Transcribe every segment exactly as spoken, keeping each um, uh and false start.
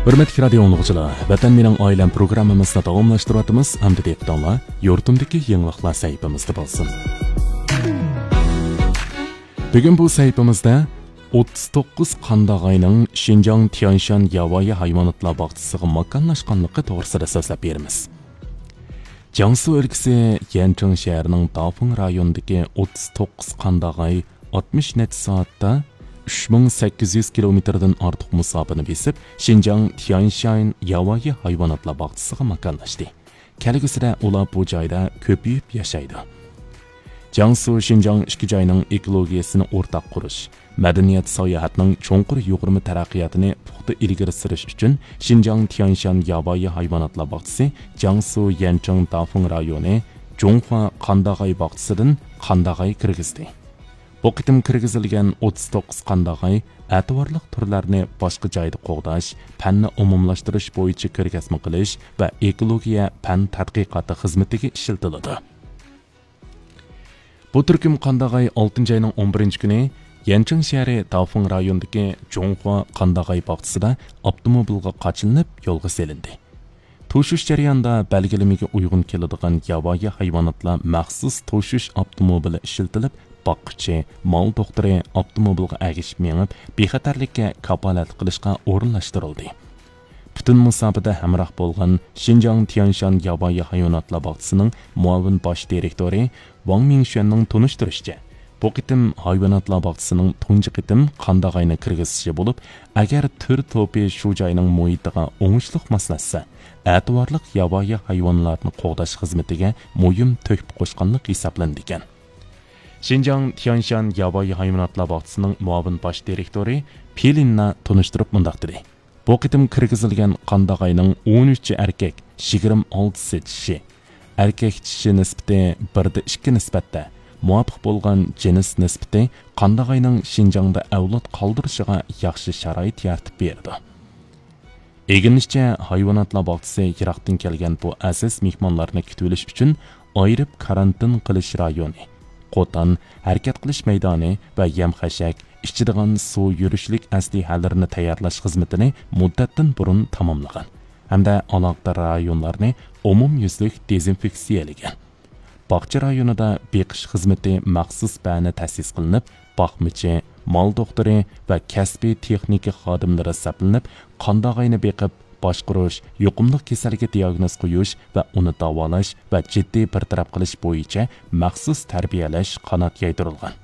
ھۆرمەتلىك رادىئو ئاڭلىغۇچىلار، ۋەتەن مېنىڭ ئائىلەم پروگراممىمىزنى داۋاملاشتۇرۇۋاتىمىز. ئەمدى دىققىتىڭلار يۇرتۇمدىكى يېڭىلىقلار سەھىپىمىزدە بولسۇن. بۈگۈن بۇ سەھىپىمىزدە ئوتتۇز توققۇز قانداغاينىڭ شىنجاڭ تيەنشان ياۋايى ھايۋاناتلار باغچىسىغا ماكانلاشقانلىقى توغرىسىدا سۆزلەپ بېرىمىز. جياڭسۇ ئۆلكىسى يەنچىڭ شەھىرىنىڭ دافېڭ رايونىدىكى ئوتتۇز توققۇز قانداغاي ئاتمىش نەچچە سائەتتە ئۈچ مىڭ سەككىز يۈز كىلومېتىردىن ئارتۇق مۇساپىنى بېسىپ، شىنجاڭ تيەنشان ياۋايى ھايۋاناتلار باغچىسىغا ماكانلاشتى. كەلگۈسىدە ئۇلار بۇ جايدا كۆپىيىپ ياشايدۇ. جياڭسۇ شىنجاڭ ئىككى جاينىڭ ئېكولوگىيەسىنى ئورتاق قۇرۇش، مەدەنىيەت ساياھەتنىڭ چوڭقۇر يۇغۇرما تەرەققىياتىنى پۇختا ئىلگىرى سۈرۈش ئۈچۈن شىنجاڭ تيەنشان ياۋايى ھايۋاناتلار باغچىسى جياڭسۇ يەنچىڭ دافېڭ رايونى جۇڭخۇا قانداغاي باغچىسىدىن قانداغاي كىرگۈزدى. بۇ قېتىم كىرگۈزۈلگەن ئوتتۇز توققۇز قانداغاي ئەتىۋارلىق تۈرلەرنى باشقا جايدا قوغداش، پەننى ئومۇملاشتۇرۇش بويىچە كۆرگەزمە قىلىش ۋە ئېكولوگىيە پەن تەتقىقاتى خىزمىتىگە ئىشلىتىلىدۇ. بۇ تۈركۈم قانداغاي ئالتىنچى ئاينىڭ ئون بىرىنچى كۈنى يەنچىڭ شەھىرى دافېڭ رايونىدىكى جۇڭخۇا قانداغاي باغچىسىدا ئاپتوموبىلغا قاچىلىنىپ يولغا سېلىندى. توشۇش جەريانىدا بەلگىلىمىگە ئۇيغۇن كېلىدىغان ياۋايى ھايۋاناتلار مەخسۇس توشۇش ئاپتوموبىلى ئىشلىتىلىپ، باققۇچى، مال دوختۇرى ئاپتوموبىلغا ئەگىشىپ مېڭىپ، بىخەتەرلىككە كاپالەتلىك قىلىشقا ئورۇنلاشتۇرۇلدى. پۈتۈن مۇساپىدە ھەمراھ بولغان شىنجاڭ تيەنشان ياۋايى ھايۋاناتلار باغچىسىنىڭ مۇئاۋىن باش دىرېكتورى ۋاڭ مىڭشۈەننىڭ تونۇشتۇرۇشىچە، بۇ قېتىم ھايۋاناتلار باغچىسىنىڭ تۇنجى قېتىم قانداغاينى كىرگۈزۈشى بولۇپ، ئەگەر تۈر توپى شۇ جاينىڭ مۇھىتىغا ئوڭۇشلۇق ماسلاشسا، ئەتىۋارلىق ياۋايى ھايۋانلارنى قوغداش خىزمىتىگە مۇھىم تۆھپە قوشقانلىق ھېسابلىنىدىكەن. شىنجاڭ تيەنشان ياۋايى ھايۋاناتلار باغچىسىنىڭ مۇئاۋىن باش دىرېكتورى پېلىننا تونۇشتۇرۇپ مۇنداق دېدى. بۇ قېتىم كىرگۈزۈلگەن قانداغاينىڭ ئون ئۈچى ئەركەك، يىگىرمە ئالتىسى چىشى. ئەركەك چىشى نىسبىتى بىردە ئىككى نىسبەتتە، مۇۋاپىق بولغان جىنس نىسبىتى قانداغاينىڭ شىنجاڭدا ئەۋلاد قالدۇرۇشىغا ياخشى شارائىت يارىتىپ بېرىدۇ. ئىگىلىنىشىچە، ھايۋاناتلار باغچىسى يىراقتىن كەلگەن بۇ ئەزىز مېھمانلارنى كۈتۈۋېلىش ئۈچۈن ئايرىپ كارانتىن قىلىش رايونى، قوتان، ھەرىكەت قىلىش مەيدانى ۋە يەم-خەشەك، ئىچىدىغان سۇ، يۈرۈشلۈك ئەسلىھەلىرىنى تەييارلاش خىزمىتىنى مۇددەتتىن بۇرۇن تاماملىغان ھەمدە ئالاقىدار رايونلارنى ئومۇميۈزلۈك دېزىنفېكسىيەلىگەن. باغچە رايونىدا بېقىش خىزمىتى مەخسۇس بەنە تەسىس قىلىنىپ، باقمىچى، مال دوختۇرى ۋە كەسپىي تېخنىكا خادىملىرى سەپلىنىپ، قانداغاينى بېقىپ، باشقۇرۇش، يۇقۇملۇق كېسەلگە دىياگنوز قويۇش ۋە ئۇنى داۋالاش ۋە جىددىي بىر تەرەپ قىلىش بويىچە مەخسۇس تەربىيەلەش قانات يايدۇرۇلغان.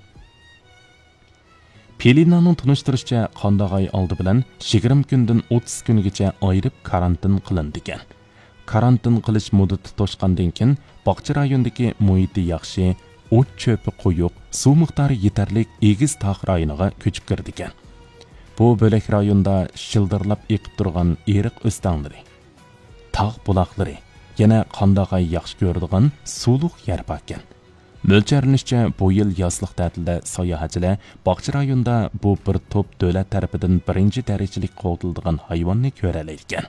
پېلىنانىڭ تونۇشتۇرۇشىچە، قانداغاي ئالدى بىلەن يىگىرمە كۈندىن ئوتتۇز كۈنگىچە ئايرىپ كارانتىن قىلىنىدىكەن. كارانتىن قىلىش مۇددىتى توشقاندىن كېيىن، باغچە رايونىدىكى مۇھىتى ياخشى، ئوت-چۆپى قويۇق، سۇ مىقدارى يېتەرلىك ئېگىز تاغ رايونىغا كۆچۈپ كىرىدىكەن. بۇ بۆلەك رايوندا شىلدىرلاپ ئېقىپ تۇرغان ئېرىق ئۆستەڭلىرى، تاغ بۇلاقلىرى، يەنە قانداغاي ياخشى كۆرىدىغان سۇلۇق يەر باركەن. مۆلچەرلىنىشىچە، بۇ يىل يازلىق تەتىلدە ساياھەتچىلەر باغچە رايونىدا بۇ بىر توپ دۆلەت تەرىپىدىن بىرىنچى دەرىجىلىك قوغدىلىدىغان ھايۋاننى كۆرەلەيدىكەن.